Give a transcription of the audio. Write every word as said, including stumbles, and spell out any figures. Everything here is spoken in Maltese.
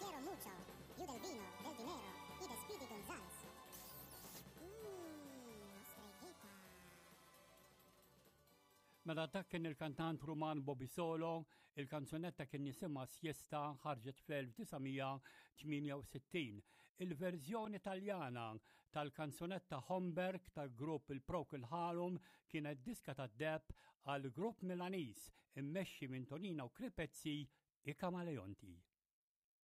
quiero mucho. You del vino, del dinero y de Speedy Gonzales. Mmm, ostreghetta. Mela dak kien il-kantant Ruman Bobby Solo, il-kanzunetta kien jisimha Siesta ħarġet fl-elf disa' mija tmienja u sittin. Il-verżjoni Taljana tal-kanzunetta Homburg tal-grupp il-Procol Harum kienet diska tad-deheb għal grupp Milaniż immexxi minn Tonino Cripezzi, i Camaleonti.